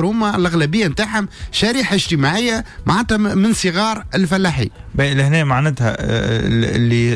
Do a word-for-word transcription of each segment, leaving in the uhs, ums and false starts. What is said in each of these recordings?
هما الاغلبية نتاعهم شريحة اجتماعية معناتها من صغار الفلاحين. لهنا معناتها اللي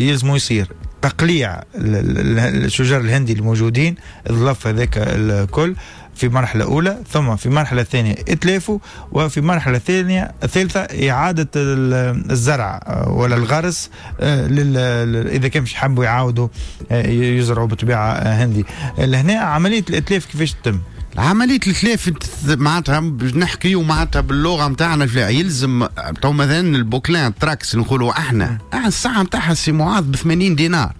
يلزموا يصير تقليع الشجر الهندي الموجودين، الظلف هذاك الكل في مرحلة أولى، ثم في مرحلة ثانية اتلافوا، وفي مرحلة ثانية ثالثة إعادة الزرع ولا الغرس إذا كان مش حبوا يعاودوا يزرعوا بطبيعة هندي. لهنا عملية الإتلاف كيفاش تتم؟ عملية الإتلاف معناتها باش نحكيو معناتها باللغة نتاعنا، يلزم تو مثلا ال bouquelin trax نقولوا احنا، الساعة نتاعها سي معاذ ب ثمانين دينار.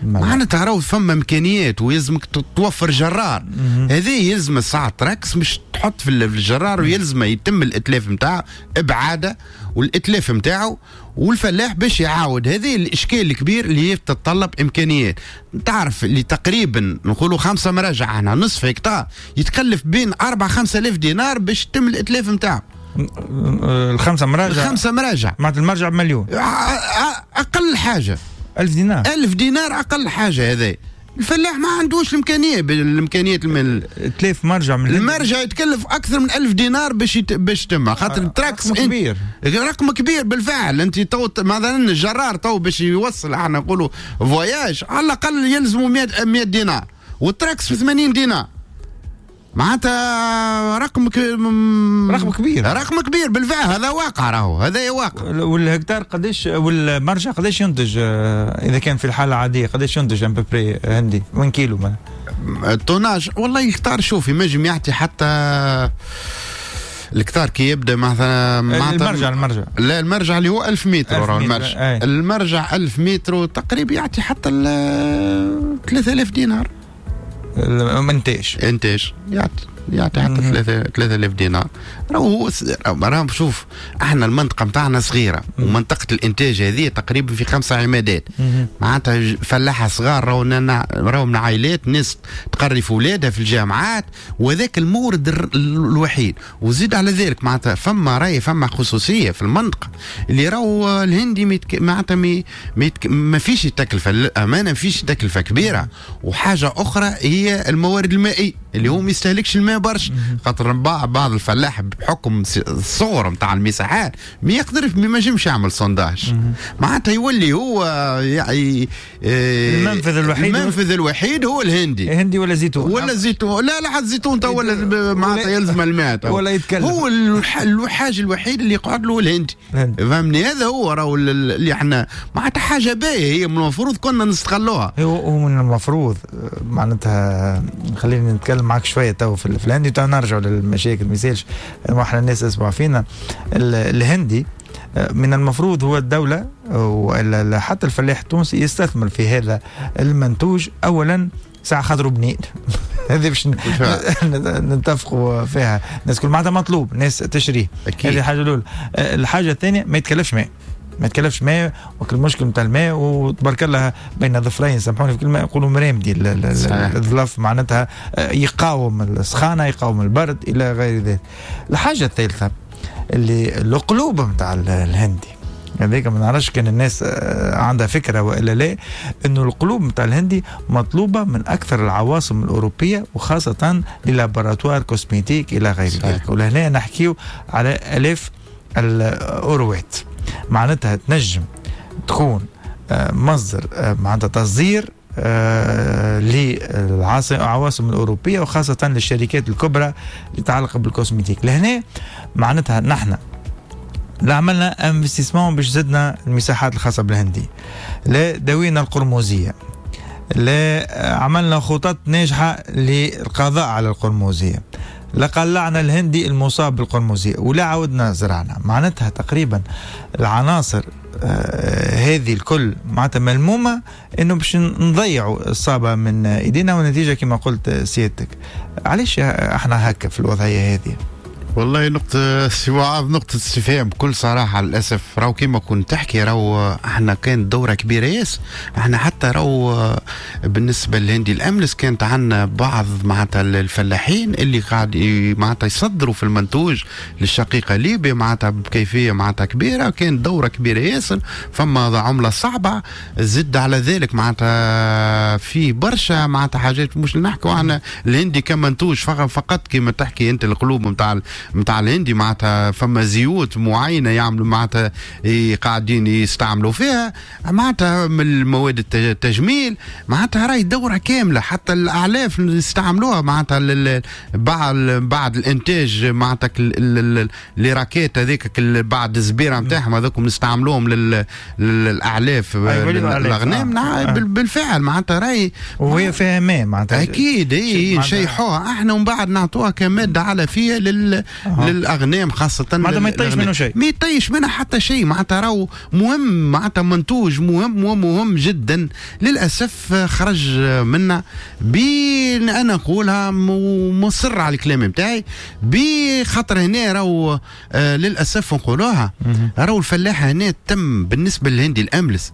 معناتها راهو فما امكانيات ويلزمك توفر جرار. هذه يلزم الساعة trax مش تحط في الجرار، ويلزم يتم الاتلاف نتاعو ابعاده والاتلاف نتاعو والفلاح باش يعاود. هذه الاشكال الكبير اللي هي تتطلب امكانيات. تعرف اللي تقريبا نقولوا خمسة مراجع احنا نصف هكتار يتكلف بين أربعة خمسة آلاف دينار باش يتم الاتلاف نتاعو. الخمسة مراجع، الخمسة مراجع معناتها المرجع بمليون اقل حاجة، ألف دينار، ألف دينار أقل حاجة. هذا الفلاح ما عندوش الإمكانية، بالإمكانيات المال تلف مرجع من المرجع يتكلف أكثر من ألف دينار باش يت... باش تم خاطر ال trax رقم كبير، رقم كبير بالفعل. أنت تو مثلا الجرار تو باش يوصل احنا نقولوا voyage على الأقل يلزموا مية دينار، وال trax في ثمانين دينار، معناتها رقم ك... رقم كبير، رقم كبير بالفعل. هذا واقع راهو، هذا واقع. والهكتار قداش والمرجع قداش ينتج اذا كان في الحالة العادية قداش ينتج à peu près هندي وين كيلو مثلا ال tonnage؟ والله الهكتار شوف ينجم يعطي حتى الهكتار كي يبدا مثلا المرجع المرجع لا المرجع اللي هو ألف متر، راهو المرجع أي. المرجع ألف متر تقريبا يعطي حتى ثلاثة آلاف دينار انتاج، انتاج يعطي يعطي حتى ثلاثة آلاف دينار. راهو راهو شوف احنا المنطقة نتاعنا صغيرة، ومنطقة الانتاج هذه تقريبا في خمسة عمادات، معناتها فلاحة صغار راهو راهو من عائلات ناس تقري في اولادها في الجامعات، وذاك المورد الوحيد. وزيد على ذلك معناتها فما راي فما خصوصية في المنطقة اللي راهو الهندي معناتها ما فيش تكلفة، للامانة ما فيش تكلفة كبيرة. وحاجه اخرى هي الموارد المائية اللي هو ما يستهلكش الماء برشا، خاطر بعض الفلاح بحكم الصغر نتاع المساحات ما يقدر ما ينجمش يعمل sondage، معناتها يولي هو يعني المنفذ الوحيد، المنفذ الوحيد هو الهندي، الهندي ولا زيتون، ولا زيتون، لا لا حتى زيتون تو ولا معناتها يلزم الماء ولا يتكلم، هو الحاجة الوحيد اللي يقعد له الهندي، فهمني؟ هذا هو راهو اللي احنا معناتها حاجة باهيه هي من المفروض كنا نستغلوها. هو من المفروض معناتها خليني نتكلم معك شوية تو في الهندي تو نرجعوا للمشاكل ما يسالش احنا الناس اسمع فينا. الهندي من المفروض هو الدولة وحتى الفلاح التونسي يستثمر في هذا المنتوج اولا ساعة خاطر بنين هذه باش نتفقوا فيها الناس كل، معناتها مطلوب ناس تشريه، هذه الحاجة الاولى. الحاجة الثانية ما يتكلفش ماء، ما يتكلفش ماء، وكل المشكل نتاع الماء وتبارك الله بين ظفرين سامحوني في كلمة يقولوا مرامدي الظلف، معناتها يقاوم السخانه يقاوم البرد الى غير ذلك. الحاجة الثالثة اللي القلوب نتاع الهندي هذيك ما نعرفش كان الناس عندها فكرة والا لا، انه القلوب نتاع الهندي مطلوبه من اكثر العواصم الاوروبية وخاصة les laboratoires cosmétiques الى غير ذلك. ولهنا نحكيو على الاف الاوروات، معناتها تنجم تكون مصدر معناتها تصدير للعواصم الأوروبية وخاصة للشركات الكبرى اللي تتعلق بال cosmétique. لهنا معناتها نحن لا عملنا investissement باش زدنا المساحات الخاصة بالهندي، لا داوينا القرموزية، لا عملنا خطط ناجحة للقضاء على القرموزية، لا قلعنا الهندي المصاب بالقرموزية، ولا عودنا زرعنا. معناتها تقريبا العناصر آه هذه الكل معناتها ملمومة انه باش نضيعوا الصابة من ايدينا، والنتيجة كما قلت سيادتك. علاش احنا هكا في الوضعية هذه؟ والله نقطة سي معاذ، نقطة استفهام بكل صراحة. للأسف راهو كيما كنت تحكي، راهو احنا كانت دورة كبيرة ياسر. احنا حتى راهو بالنسبة للهندي الأملس كانت عندنا بعض معناتها الفلاحين اللي قاعد معناتها يصدروا في المنتوج للشقيقة ليبيا معناتها بكيفية معناتها كبيرة، كانت دورة كبيرة ياسر. فما عملة صعبة، زد على ذلك معناتها في برشا معناتها حاجات مش نحكوا احنا الهندي كمنتوج فقط كيما تحكي انت القلوب نتاع نتاع الهندي معناتها فما زيوت معينة يعملوا معناتها قاعدين يستعملوا فيها معناتها من المواد التجميل معناتها راهي دوره كاملة. حتى الاعلاف يستعملوها معناتها بعد بعد الانتاج معناتها les raquettes هذيك بعد الزبيره نتاعهم هذوك نستعملوهم للاعلاف الاغنام. آه. بالفعل معناتها راهي وهي فيها ماء معناتها اكيد اي نشيحوها احنا ومن بعد نعطوها كمادة علفيه لل أه. للاغنام خاصة. معناتها ما يطيش منه شيء، ما يطيش منها حتى شيء. معناتها راهو مهم، معناتها منتوج مهم ومهم جدا. للاسف خرج منا بين انا نقولها ومصر على الكلام نتاعي بخاطر هنا راهو آه للاسف نقولوها راهو الفلاحة هنا تم بالنسبة للهندي الاملس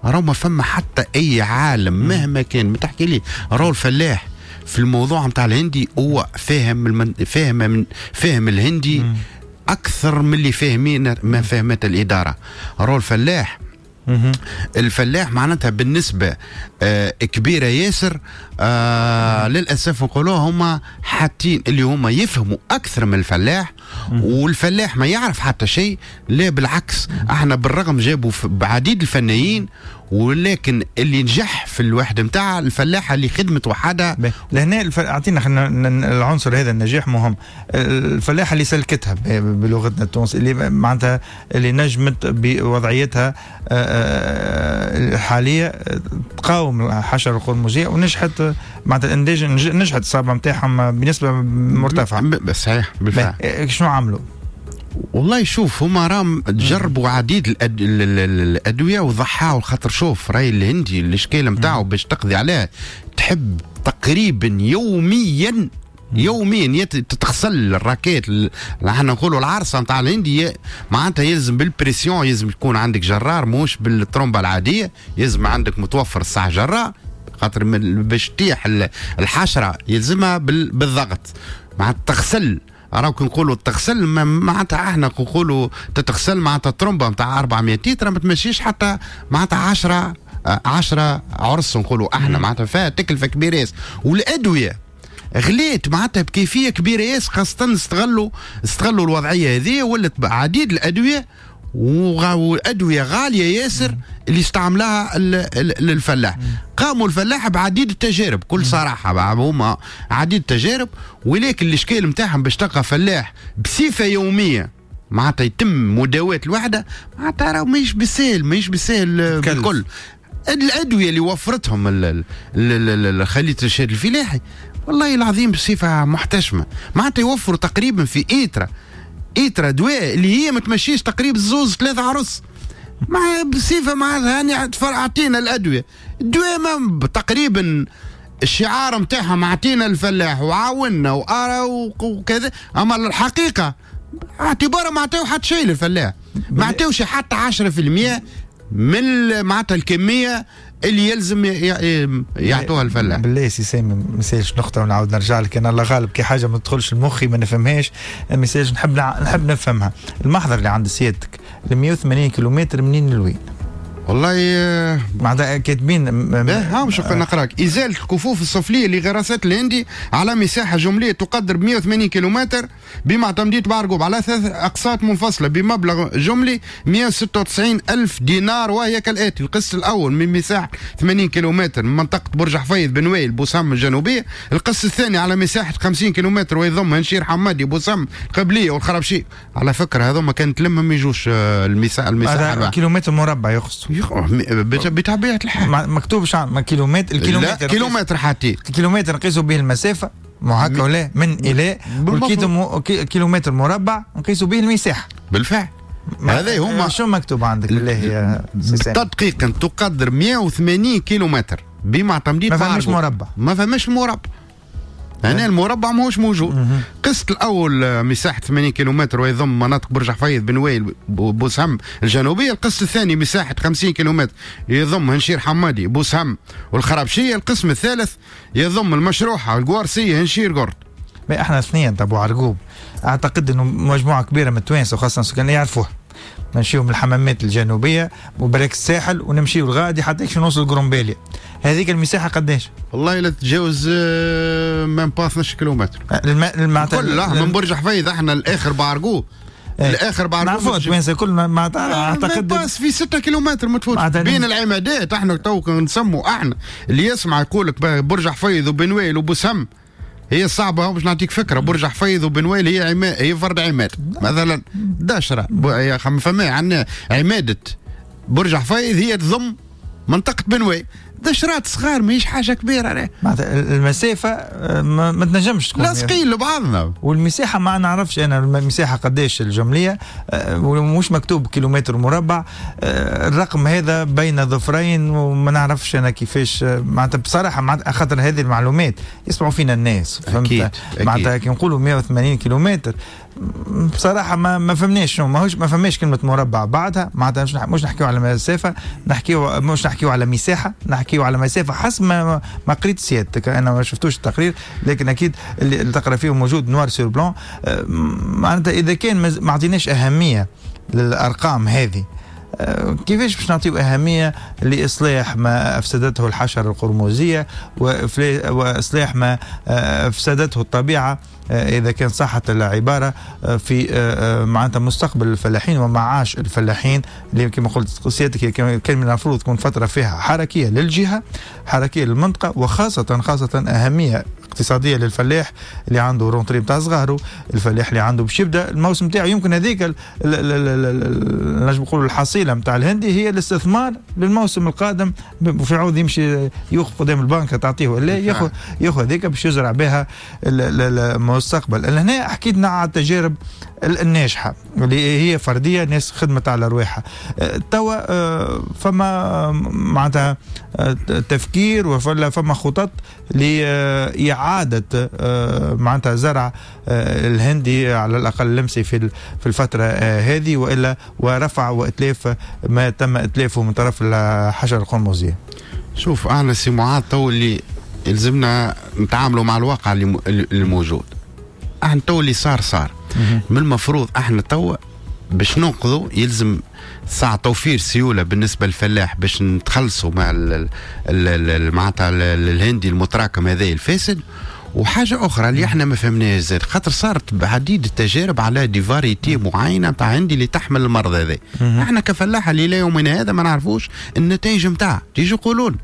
راهو ما فما حتى اي عالم مهما كان ما تحكي لي راهو الفلاح في الموضوع نتاع الهندي هو فاهم المن... فاهم من... فاهم الهندي مم. اكثر من اللي فاهمين ما فهمت الادارة. راهو الفلاح مم. الفلاح معناتها بالنسبة آه كبيرة ياسر آه للاسف نقولوها هما حاطين اللي هما يفهموا اكثر من الفلاح، والفلاح ما يعرف حتى شيء. لا بالعكس، احنا بالرغم جابوا بعديد الفنيين، ولكن اللي نجح في الوحدة نتاع الفلاحة اللي خدمت وحدها. لهنا الف... اعطينا خلينا العنصر هذا النجاح مهم. الفلاحة اللي سلكتها بلغتنا التونسية، اللي معناتها اللي نجمت بوضعيتها الحالية تقاوم الحشرة القرمزيه ونجحت معناتها الانتاج، نجحت الصابه نتاعهم بنسبة مرتفعة. صحيح بالفعل. شنو عملوا؟ والله شوف هما راهم جربوا عديد الأد... الادوية وضحاوا. خاطر شوف راي الهندي الاشكال نتاعو باش تقضي عليه تحب تقريبا يوميا يوميا تتغسل ال raquette، احنا نقولوا العرصه نتاع الهندي معناتها يلزم بال pression، يلزم يكون عندك جرار موش بالترومبه العادية، يلزم عندك متوفر الساعة جرار خاطر باش تطيح الحشرة يلزمها بالضغط معناتها تغسل. راهو كي نقولوا تغسل معناتها احنا نقولوا تتغسل معناتها الترومبه نتاع أربعمية لتر ما تمشيش حتى معناتها عشرة عشرة عرس نقولوا احنا معناتها فيها تكلفة كبيرة ياسر. والادوية غليت معناتها بكيفية كبيرة ياسر، خاصة استغلوا استغلوا الوضعية هذه ولت عديد الادوية والادوية غالية ياسر اللي استعملها الفلاح. قاموا الفلاح بعديد التجارب بكل صراحة، هما عديد التجارب، ولكن الاشكال نتاعهم باش تلقى فلاح بصفة يومية معناتها يتم مداواه الوحدة معناتها راه ماهيش بالساهل، ماهيش بالساهل بالكل. الادوية اللي وفرتهم خلية الارشاد الفلاحي والله العظيم بصفة محتشمه معناتها يوفروا تقريبا في ايترا ايترا دواء اللي هي ما تمشيش تقريبا زوز ثلاثة عرس مع بصفة معناتها هاني اعطينا الادوية، الدواء ما تقريبا الشعار نتاعهم اعطينا الفلاح وعاونا وارى وكذا، اما الحقيقة اعتبارا ما عطاو حتى شيء للفلاح، ما عطاوش حتى عشرة في المية من معناتها الكمية اللي يلزم يعطوها الفلاح. بالله سي سامي ما يسالش نقطة ونعاود نرجع لك، انا الله غالب كي حاجة ما تدخلش لمخي ما نفهمهاش، ما يسالش نحب نحب نفهمها. المحضر اللي عند سيادتك ال مية وثمانين كيلومتر منين لوين؟ والله معناتها كاتبين ها مش نقراك. ازالة الكفوف السفليه لغراسات الهندي على مساحة جمليه تقدر ب مية وثمانين كيلومتر بمعتمديه بعرقوب على ثلاث اقساط منفصلة بمبلغ جملي مية وستة وتسعين الف دينار، وهي كالاتي: القسط الاول من مساحة ثمانين كيلومتر من منطقة برج حفيظ بن ويل بوسام الجنوبية، القسط الثاني على مساحة خمسين كيلومتر ويضم هنشير حمادي بوسام القبلية والخربشي. على فكرة هذوما كانت لمهم يجوش المساحة المساحة كيلومتر مربع يقصد بطبيعة الحال مكتوب شعر كيلومتر، الكيلومتر كيلومتر حتى كيلومتر نقيسوا به المسافة ما هكا ولا من الى، والكيلومتر مربع نقيسوا به المساحة. بالفعل هذا هما. شو مكتوب عندك بالله يا تدقيقا تقدر مية وثمانين كيلومتر بمعتمديه ما فماش مربع، ما فماش مربع. هنا المربع ماهوش موجود. قسط الاول مساحة ثمانين كيلومتر ويضم مناطق برج حفيظ بن ويل بوسهم الجنوبية. القسط الثاني مساحة خمسين كيلومتر يضم هنشير حمادي بوسهم والخرابشيه. القسم الثالث يضم المشروحه القوارسيه هنشير قرد. ما احنا اثنين تبع عرقوب اعتقد انه مجموعة كبيرة من التوانسة وخاصة السكان يعرفوه. نمشيو من الحمامات الجنوبية وبرك الساحل ونمشيو لغادي حتى كي نوصل قرنباليا. هذيك المساحة قداش؟ والله لا تتجاوز même pas اثناش كيلومتر. الم... كلها من برج حفيظ احنا الاخر بعرقوب. ايه. الاخر بعرقوب نعرفوا التوانسة كل ما اعتقد باس في ستة كيلومتر ما تفوتش بين العمادات. احنا تو نسموا احنا اللي يسمع يقول لك برج حفيظ وبن ويل وبوسهم هي صعبة باش نعطيك فكرة. برج حفيظ وبن ويل هي عماد، هي فرد عماد مثلا دشرة فما عندنا عمادة برج حفيظ هي تضم منطقة بن ويل، دشرات صغار ماهيش حاجة كبيرة. معناتها المسافة ما, ما تنجمش تكون لاصقين لبعضنا. والمساحة ما نعرفش أنا المساحة قداش الجملية ومش مكتوب كيلومتر مربع. الرقم هذا بين ظفرين وما نعرفش أنا كيفاش. معناتها بصراحة معناتها خاطر هذه المعلومات يسمعوا فينا الناس، فهمت؟ معناتها كي نقولوا مئة وثمانين كيلومتر بصراحة ما ما فهمناش شنو، ماهوش ما فهمناش كلمة مربع بعدها. معناتها مش مش نحكيو على مسافة، نحكيو مش نحكيو على مساحة، نحكيو على مسافة حسب ما ما قريت سيادتك. أنا ما شفتوش التقرير لكن أكيد اللي تقرا فيه موجود noir sur blanc. معناتها إذا كان ما عطيناش أهمية للأرقام هذه كيفاش باش نعطيو أهمية لإصلاح ما أفسدته الحشرة القرمزية وإصلاح ما أفسدته الطبيعة إذا كان صحت العبارة في معناتها مستقبل الفلاحين ومعاش الفلاحين اللي كما قلت سيادتك كان من المفروض تكون فترة فيها حركية للجهة، حركية للمنطقة، وخاصة خاصة أهمية اقتصادية للفلاح اللي عنده rentrée نتاع صغاره، الفلاح اللي عنده باش يبدا الموسم نتاعو. يمكن هذيك نجم نقولوا الحصيلة نتاع الهندي هي الاستثمار للموسم القادم، وفي عوض يمشي يوقف قدام البنك تعطيه ولا ياخذ ياخذ هذيك باش يزرع بها المستقبل. هنا حكيتنا على التجارب الناجحة اللي هي فردية، ناس خدمت على رواحها. توا فما معناتها تفكير وفما فما خطط لإعادة معناتها زرع الهندي على الأقل لمسي في في الفترة هذه، وإلا ورفع وإتلاف ما تم إتلافه من طرف الحشرة القرمزية. شوف أنا سي معاذ تو اللي يلزمنا نتعاملوا مع الواقع اللي الموجود. احنا تو اللي صار صار. من المفروض احنا تو باش ننقذوا يلزم ساعة توفير سيولة بالنسبة للفلاح باش نتخلصوا مع معناتها الهندي المتراكم هذا الفاسد. وحاجة أخرى اللي احنا ما فهمناهاش زاد، خاطر صارت بعديد التجارب على des variétés معينة تاع هندي اللي تحمل المرض هذا. احنا كفلاحة اللي لا يومنا هذا ما نعرفوش النتائج نتاعها، تيجوا يقولون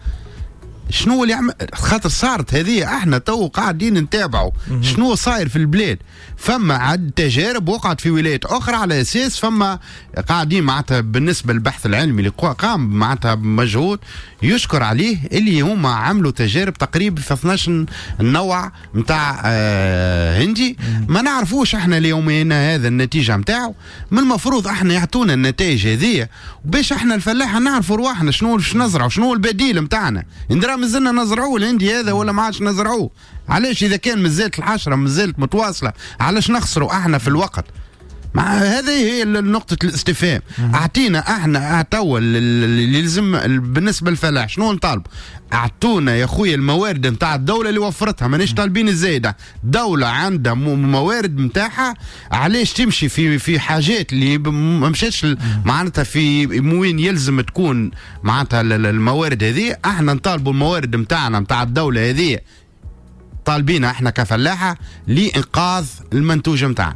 شنو اللي عم... خاطر صارت هذه احنا تو قاعدين نتابعوا شنو صاير في البلاد. فما عد تجارب وقعت في ولايات اخرى على اساس فما قاعدين معناتها بالنسبة للبحث العلمي اللي قام معناتها بمجهود يشكر عليه اللي هما عملوا تجارب تقريبا في اثناش نوع نتاع آه هندي. ما نعرفوش احنا ليومنا هذا النتيجة نتاعو. من المفروض احنا يعطونا النتائج هذه باش احنا الفلاحة نعرفوا رواحنا شنو باش نزرعوا، شنو البديل نتاعنا. ندرا مازلنا نزرعوه الهندي هذا ولا ما عادش نزرعوه؟ علاش اذا كان مازالت الحشرة مازالت متواصلة علاش نخسروا احنا في الوقت؟ مع هذه هي نقطة الاستفهام. اعطينا احنا توا اللي يلزم بالنسبة للفلاح شنو نطالب؟ اعطونا يا خويا الموارد نتاع الدولة اللي وفرتها، مانيش طالبين الزايدة. دولة عندها موارد نتاعها، علاش تمشي في في حاجات اللي ما مشاتش معناتها في وين يلزم تكون معناتها الموارد هذه. احنا نطالبوا الموارد نتاعنا نتاع الدولة هذه طالبينها احنا كفلاحة لإنقاذ المنتوج نتاعنا.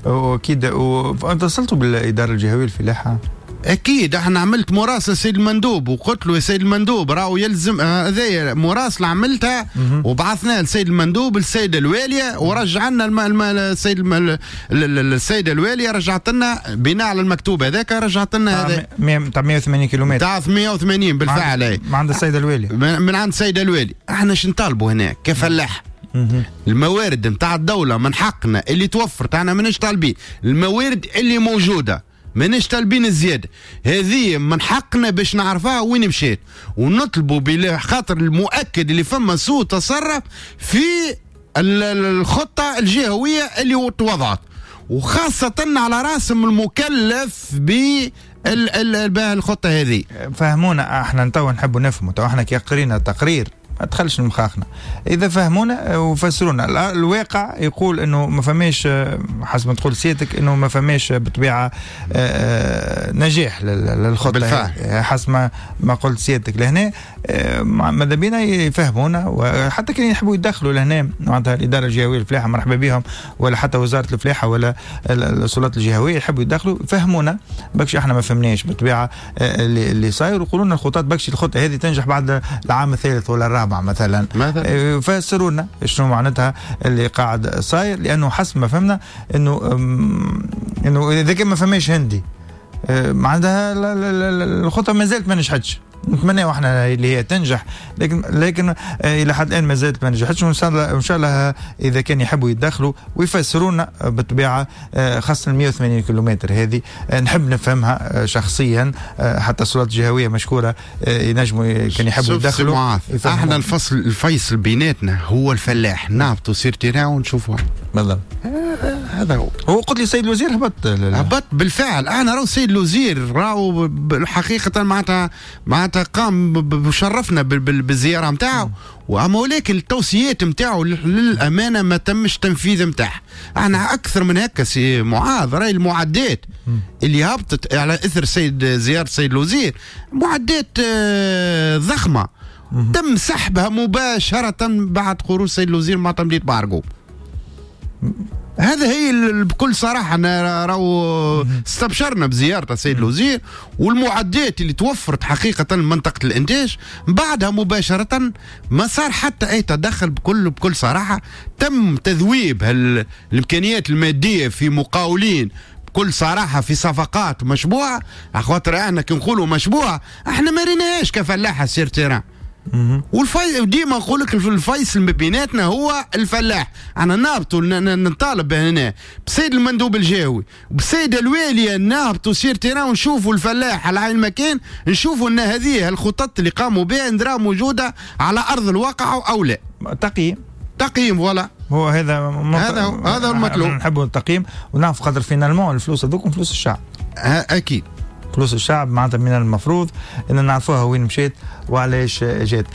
واكيد. واتصلتوا بالادارة الجهوية للفلاحه؟ اكيد احنا عملت مراسله سيد المندوب وقلت له يا سيد المندوب راهو يلزم هذايا مراسله عملتها وبعثناها لسيد المندوب للسيدة الواليه ورجع لنا الم... الم... السيد الم... السيدة الواليه رجعت لنا بناء على المكتوب هذاك رجعت لنا هذا تاع مئة وثمانين كيلومتر تاع مئة وثمانين بالفعل من عند السيدة الواليه من عند السيدة الواليه. احنا شنو نطالبوا هنا كفلاح؟ الموارد نتاع الدولة من حقنا اللي توفرت، احنا ماناش طالبين الموارد اللي موجودة، ماناش طالبين الزيادة هذه، من حقنا باش نعرفها وين مشات ونطلبوا بلا خاطر المؤكد اللي فما سوء تصرف في الخطة الجهوية اللي توضعت، وخاصة على راسهم المكلف بالخطة هذه. فهمونا احنا تو نحبوا نفهموا، تو احنا كي قرينا التقرير ما دخلش لمخاخنا، اذا فهمونا وفسرونا الواقع يقول انه ما فماش، حسب ما تقول سيادتك انه ما فماش بالطبيعة نجاح للخطه بالفعل حسب ما ما قلت سيادتك لهنا. ماذا بينا يفهمونا، وحتى كان يحبوا يدخلوا لهنا معناتها الادارة الجهوية للفلاحه مرحبا بهم، ولا حتى وزارة الفلاحة ولا السلطات الجهوية يحبوا يدخلوا يفهمونا، باكش احنا ما فهمناش بالطبيعة اللي, اللي صاير، ويقولوا لنا الخطط باكش الخطة هذه تنجح بعد العام الثالث ولا الرابع مثلا، فسروا لنا شنو معناتها اللي قاعد صاير، لانه حسب ما فهمنا انه انه اذا كان ما فماش هندي معناتها الخطة ما زالت ما نجحتش. نتمنى احنا اللي هي تنجح، لكن لكن الى حد الان ما زالت ما نجحتش، وان شاء الله ان شاء الله اذا كان يحبوا يتدخلوا ويفسرونا بالطبيعة، خاصة مئة وثمانين كيلومتر هذه نحب نفهمها شخصيا، حتى السلطات الجهوية مشكورة ينجموا كان يحبوا يتدخلوا. احنا الفصل الفيصل بيناتنا هو الفلاح، نهبطوا sur terrain ونشوفوها بالضبط. هذا هو. هو قلت لي السيد الوزير هبط هبط بالفعل. انا راهو السيد الوزير راهو حقيقة معناتها معناتها قام وشرفنا بالزيارة نتاعو، واما ولكن التوصيات نتاعو للامانة ما تمش تنفيذ نتاعها. احنا اكثر من هكا سي معاذ، راهي المعدات اللي هبطت على اثر سيد زيارة السيد الوزير معدات ضخمة تم سحبها مباشرة بعد خروج السيد الوزير مع تمديد بارجو. هذا هي بكل صراحة أنا راهو استبشرنا بزيارة السيد الوزير والمعدات اللي توفرت حقيقة لمنطقة الإنتاج، بعدها مباشرة ما صار حتى أي تدخل. بكل بكل صراحة تم تذويب الإمكانيات المادية في مقاولين بكل صراحة في صفقات مشبوعة. خاطر احنا كي نقولوا مشبوعة احنا ما ريناهاش كفلاحة sur terrain. والفي ديما نقول لك الفيصل ما بيناتنا هو الفلاح. انا نهبطوا نطالب هنا بسيد المندوب الجهوي وبسيد الوالي نهبطوا sur terrain ونشوفوا الفلاح على عين المكان، نشوفوا ان هذه الخطط اللي قاموا بها ندرا موجودة على ارض الواقع او لا. تقييم تقييم voilà هو هذا هذا هذا المطلوب. نحبوا التقييم ونعرف قدر finalement الفلوس هذوك فلوس الشعب. اكيد فلوس الشعب معناتها من المفروض ان نعرفوها وين مشيت وعلاش جات.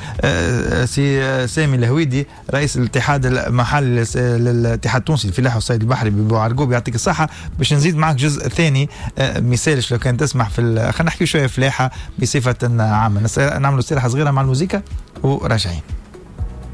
سي سامي الهويدي رئيس الاتحاد المحلي للاتحاد التونسي للفلاحه والصيد البحري ببوعرقوب، يعطيك الصحة. باش نزيد معك جزء ثاني مثالش لو كان تسمح في، خلينا نحكي شوية فلاحة بصفة عامة، نعملوا استراحة صغيرة مع الموسيقى وراجعين.